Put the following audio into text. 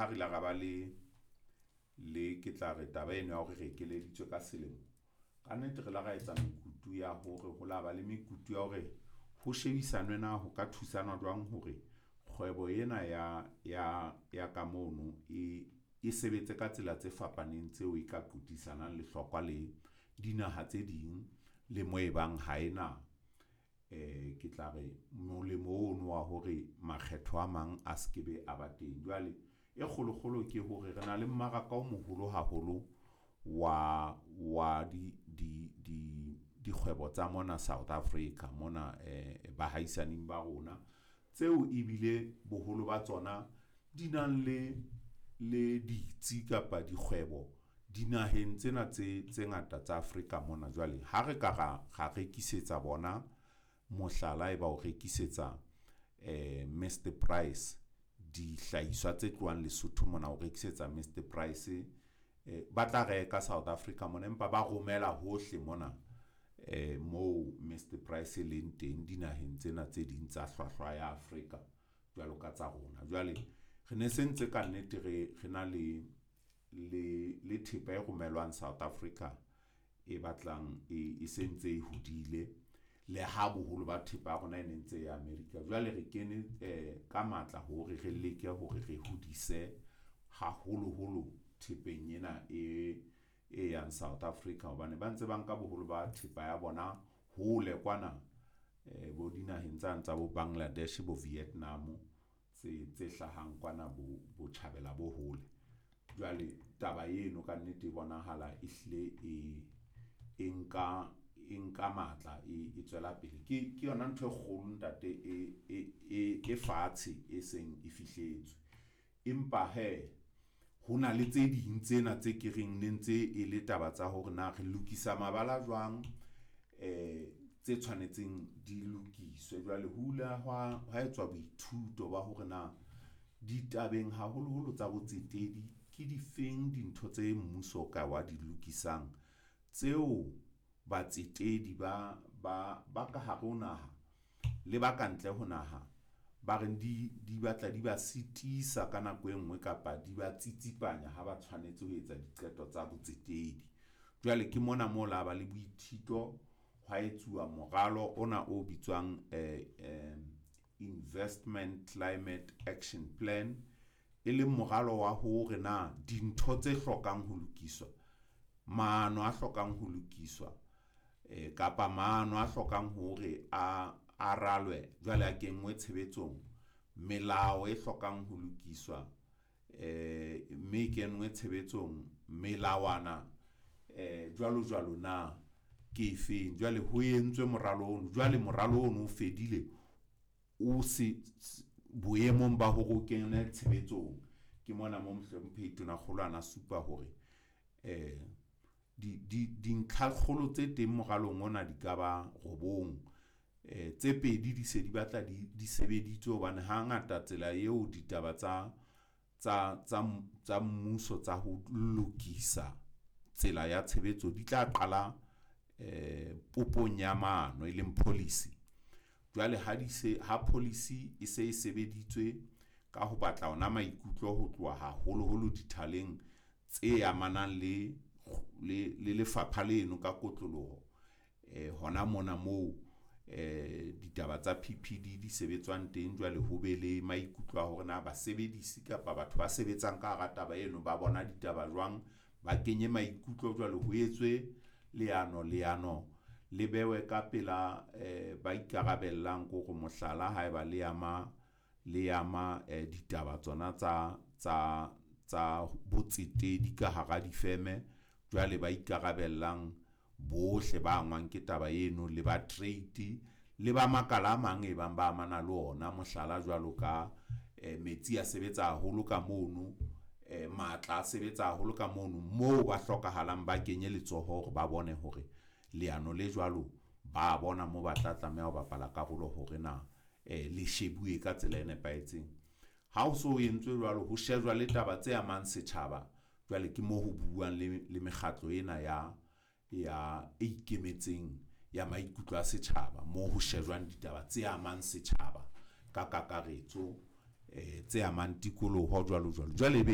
ha re ile ra ba le ke tla re taba eno ya hore re ekeleditswe ka selemo, kannete re ile ra etsa mekutu ya hore ho la ba le mekutu ya hore ho shebisanwe na ho ka thusana jwang hore kgwebo ena ya ka mono e sebetse ka tsela tse fapaneng tseo e ka qothisanang lehlokwa le dinaha tse ding le mo e bang ha e na ke tla re molemo ono wa hore makgetho a mang a se ke be a ba teng. Jwale e kgolo-kgolo ke hore re na le mmaraka o moholo haholo wa dikgwebo tsa mona South Africa mona bahaisaneng ba rona, tseo ebile boholo ba tsona di nang le ditsi kapa dikgwebo dinaheng tsena tse ngata tsa Afrika mona. Jwale ha re ka ra rekisetsa bona, mohlala e ba o rekisetsa Mister Price dihlahiswa tse tlohang Lesotho mona, o rekisetsa Mister Price ba tla reka South Africa mona, empa ba romela hohle mona moo Mister Price e leng teng dinaheng tsena tse ding tsa hlwahlwa ya Afrika jwalo ka tsa rona. Jwale re ne se ntse kannete re na le thepa e romellwang South Africa e batlang e sentse e hodile le ha boholo ba thepa ya rona e ne ntse ya America. Jwale re kene ka matla hore re leke hore re hodise haholoholo thepeng ena e yang South Africa hobane ba ntse ba nka boholo ba thepa ya bona hole kwana bo dinaheng tsane tsa bo Bangladesh, bo Vietnam tse hlahang kwana botjhabela bo hole. Jwale taba eno kannete e bonahala e hlile e nka matla, e tswela pele. Ke yona ntho e kgolo ntate e fatshe e seng e fihletswe. Empa hee ho na le tse ding tsena tse ke reng ne ntse e le taba tsa hore na re lokisa mabala jwang tse tshwanetseng di lokiswe. Jwale ho ile hwa etswa boithuto ba hore na ditabeng haholoholo tsa botsetedi ke difeng dintho tse mmuso o ka wa di lokisang tseo batsetedi ba ka hare ho naha le ba kantle ho naha ba reng di batla di ba sitisa ka nako e nngwe kapa di ba tsitsipanya ha ba tshwanetse ho etsa diqeto tsa botsetedi. Jwale ke mona mo la ba le boithito hwa etsuwa moralo ona o bitswang Investment Climate Action Plan, e leng moralo wa hore na dintho tse hlokang ho lokiswa, maano a hlokang ho lokiswa kapa maano a hlokang hore a ralwe jwale a kenngwe tshebetsong, melao e hlokang ho lokiswa mme e kenngwe tshebetsong, melawana jwalo jwalo na ke efeng. Jwale ho entswe moralo ono, jwale moralo ono o fedile o se boemong ba hore o kene tshebetsong. Ke mona mo Mohlomphehi Tonakgolo ana supa hore dintlha kgolo tse teng moralong ona di ka ba robong. Tse pedi di se di batla di sebeditswe hobane hangata tsela eo ditaba tsa mmuso tsa ho lokisa tsela ya tshebetso di tla qala popong ya maano, e leng policy. Jwale ha di se ha policy e se e sebeditswe ka ho batla ona maikutlo ho tloha haholoholo dithaleng tse amanang le lefapha leno ka kotloloho hona mona moo ditaba tsa PPD di sebetswang teng. Jwale ho be le maikutlo a hore na basebedisi kapa batho ba sebetsang ka hara taba eno ba bona ditaba jwang, ba kenye maikutlo jwale ho etswe leano. Leano le behwe ka pela ba ikarabellang ko re mohlala, haeba le ama ditaba tsona tsa botsetedi ka hara difeme. Jwale ba ikarabellang bohle ba angwang ke taba eno le ba trade le ba makala a mang e bang ba amana le ona. Mohlala, jwalo ka metsi a sebetsa haholo ka mono, matla a sebetsa haholo ka mono moo ba hlokahalang, ba kenye letsoho hore ba bone hore leano le jwalo ba bona moo ba tla tlameha ho bapala karolo hore na le shebuwe ka tsela e nepahetseng. Ha ho so entswe jwalo, ho shejwa le taba tse amang setjhaba. Jwale ke moo ho buuwang le mekgatlo ena ya e ikemetseng ya maikutlo a setjhaba, moo ho shejwang ditaba tse amang setjhaba ka kakaretso, tse amang tikoloho jwalo jwalo. Jwale ebe